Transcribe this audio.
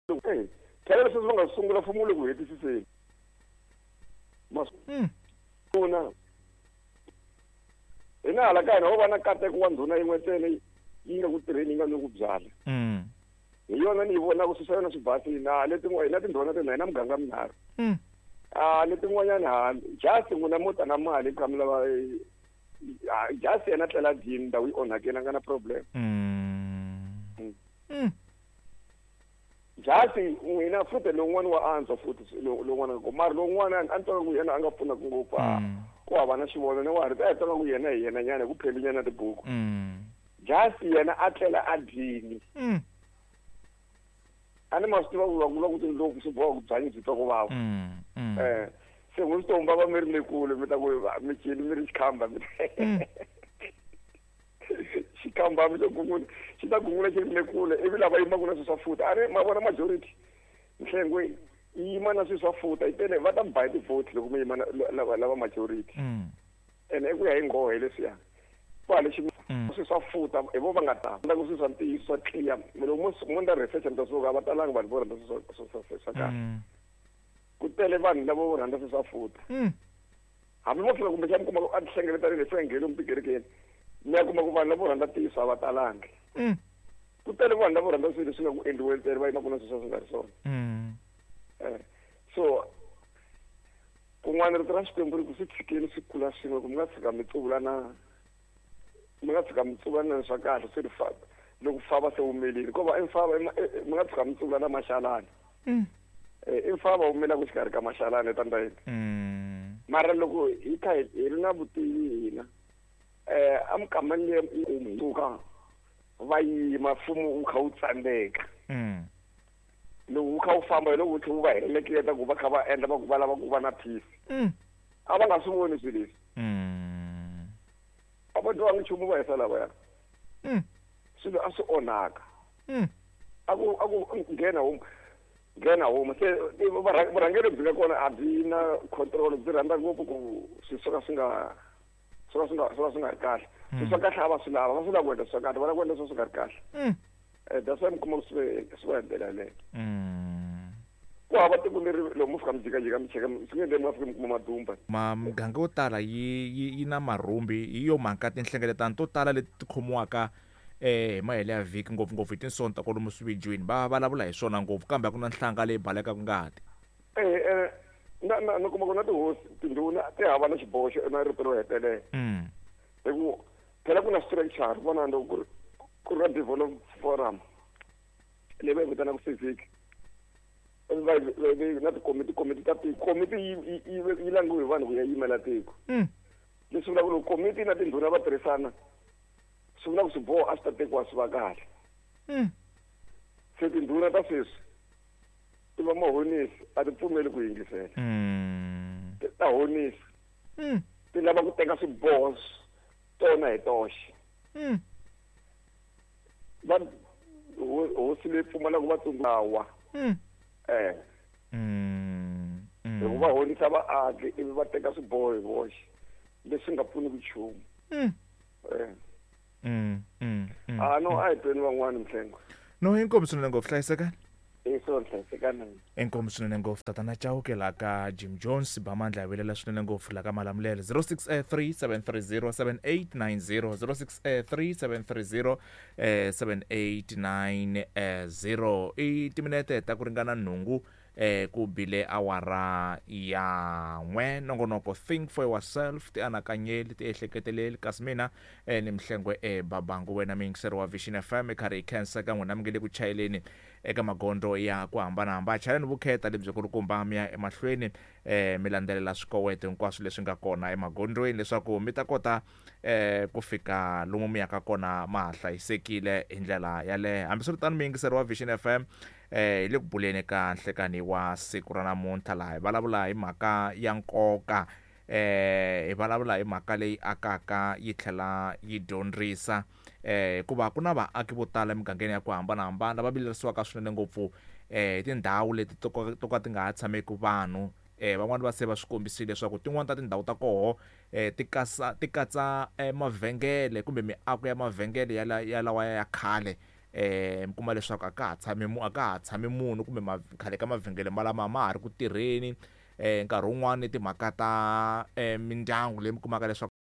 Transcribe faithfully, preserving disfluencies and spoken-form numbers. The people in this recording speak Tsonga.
Eh, phela leswi va nga sungula mfumo wu le ku hetisiseni. Mm. Masuna hina hala ka hina ho va na nkateko wa ndhuna yin'we ntsena yi nga ku tirheni yi nga ni ku byala. Mm. Hi yona ni yi vonaka swi swa yona swi basile na letin'wana hina tindhuna tena hina muganga minharhu. Mm. A letin'wanyana ha just n'wina mo ta na mali kha mi lava eh, ah, just yena tlela dyini ndhawu yi onhakile a nga na problem. Mm. Mm. Mm. Just n'wina futhi lowun'wana wa antswa futhi lowun'wana ko mara lowun'wana a ni twa ku yena a nga pfunaka ngopfu a Mm. ku hava na xivono ni wa ha ri a hi twa ku yena hi yena nyana hi ku pheli nyana tibuku. Mm. Just yena a tlela a dyini. Mm. A ni ma swi tiva ku va vula ku tindlopfu swi boha ku byanyi byi twa ku vava. Mm. Mm. Eh se n'wi swi tomba va mi ri le kule mi ta ku va- mi cini mi ri xikhamba mi Mm. xikhamba mi xo gungula xi ta gungula xi ri le kule ivi lava yimaka na swilo swa futa a ri ma vona majority nhlengo yi yima na swilo swa futa yi tele va ta mi ba hi ti-vote loko mi yima na lava lava majority. Mm. Ene i ku ya hi nghohe leswiya kwale xi Mm. swilo swa futa hi vo va nga ta ndla ku swilo swa ntiyiso swa clear loko mo mo ndla research mi ta suka a va talanga vanhu vo rhandza swilo swa swa swa swa kahle. Mm. Ku tele vanhu lava vo rhandza swilo swa futa. Mm. Hambi mo fika kumbexana mi kuma ku a tihlengeletanile hi fika lomu tikerekeni mi ya kuma ku vanhu lavo rhandza ntiyiso a va talangi. Mm. Ku tele vanhu lavo rhandza swilo leswi nga ku endliweni ntsena va yimaka na swilo swa swi nga ri swona. Mm. Eh, so kun'wana rito ra Xikwembu ri ku swi tshikeni swi kula swin'we ku mi nga tshika mi tsuvula na mi nga tshika mi tsuvula na swa kahle swi ri fa loko fava se wumelile ko va i mfava i ma- i- i- mi nga tshika mi tsuvula na maxalani. Mm. Eh, i mfava wu milaka xikarhi ka maxalani etandayeni. Mm. Mara loko hi kha hi hi ri na vutivi hina eh a mikamani leyi yi suka va yima mfumo wu kha wu tsandzeka. Mm. Loko wu kha wu famba hi loko wu tlhe wu va heleketa ku va kha va endla va ku va lava ku va na peace. Mm. A va nga swi voni swilo leswi. Mm. A va dyohangi nchumu va hisa lavaya. Mm. Swilo a swi onhaka. Mm. A ku a ku nghena home nghena home se i varha- vurhangeri byi nga kona a byi na control byi rhandza ngopfu ku swilo swo ka swi nga swo ka swi nga swo ka swi nga ri kahle. Swilo swa kahle a va swi lava va swi lava ku endla swa kahle va lava ku endla swo swi nga ri kahle. Mm. Eh that's why mi kuma ku swi swi va hi ndlela yaleyo. Mm. Ku hava tiko leri loko mo fika mi jikajika mi cheka swi nge endleki mi nga fiki mi kuma madumba. Ma muganga yo tala yi yi yi na marhumbi hi yo mhaka tinhlengeletano to tala leti ti khomiwaka eh hi mahelo ya vhiki ngopfungopfu hi tinsonta kwalomu swividyweni va vulavula hi swona ngopfu kambe a ku na nhlanga leyi balekaka ngati. Eh eh na na na kuma ku na tihosi tindhuna ti hava na xiboho xo na rito ro hetelela. Mm. Hi ku phela ku na structure vona loko ku ri ku ri na develop forum leyi va yi vitanaka civic va yi na tikomiti komiti ta tiko komiti yi yi yi yi langiwe hi vanhu ku ya yimela tiko. Mm. Leswi vulaka ku loko komiti na tindhuna va tirhisana swi vula ku swiboho a swi ta tekiwa swi va kahle. Mm. Se tindhuna ta sweswi ti va mahonisi a ti pfumeli ku yingisela. Mm. Ti ta honisa. Mm. Ti lava ku teka swiboho tona hi toxe. Mm. Va ho- hosi leyi pfumalaka vatsundzuxa. Mm. Eh. Mm. Mm. Hi ku va honisa vaaki ivi va teka swiboho hi voxe leswi nga pfuniki nchumu. Mm. Eh. Mm. Mm. Mm. Ah no a hi tweni van'wani Mhlengwe. No inkomu swinene ngopfu hlayisekani. Eh so hlayisekani. Inkomu swinene ngopfu tatana Chauke la ka Jim Jones Bamandla hi vilela swinene ngopfu la ka Malamulele zero six three seven three zero seven eight nine zero zero six three seven three zero seven eight nine zero i timinete ta ku ringana nhungu eh ku bile awara ya n'we nongonoko think for yourself ti anakanyeli ti ehleketeleli kasi mina eh, ni Mhlengwe eh, Babangu wena muyingiseri wa Vision F M i karhi hi khensa ka n'wina mi nge le ku chayeleni eka magondzo ya ku hambanahambana chayeleni vukheta lebyi kulukumba mi ya emahlweni eh, mi landzelela swikoweto hinkwaswo leswi nga kona emagondzweni leswaku mi ta kota eh, ku fika lomu mi yaka kona ma ha hlayisekile hi ndlela yaleyo. Hambiswiritano muyingiseri wa Vision F M eh, hi le ku buleni ka nhlekani wa siku ra namuntlha laha hi vulavula hi mhaka ya nkoka eh, hi vulavula hi mhaka leyi akaka yi tlhela yi dyondzisa eh, hikuva ku na vaaki vo tala emugangeni ya ku hambanahambana lava vilerisiwaka swinene ngopfu eh, hi tindhawu leti to ka to ka ti nga ha tshameki vanhu. Eh, van'wani va se va swi kombisile leswaku tin'wani ta tindhawu ta koho eh, ti kasa, ti katsa, eh, mavhengele kumbe miako ya mavhengele ya la, ya lawa ya khale eh mi kuma leswaku a ka ha tshami a ka ha tshami munhu kumbe khale ka mavhengele malama ma ha ri ku tirheni. eh nkarhi wun'wani timhaka ta eh mindyangu leyi mi kumaka leswaku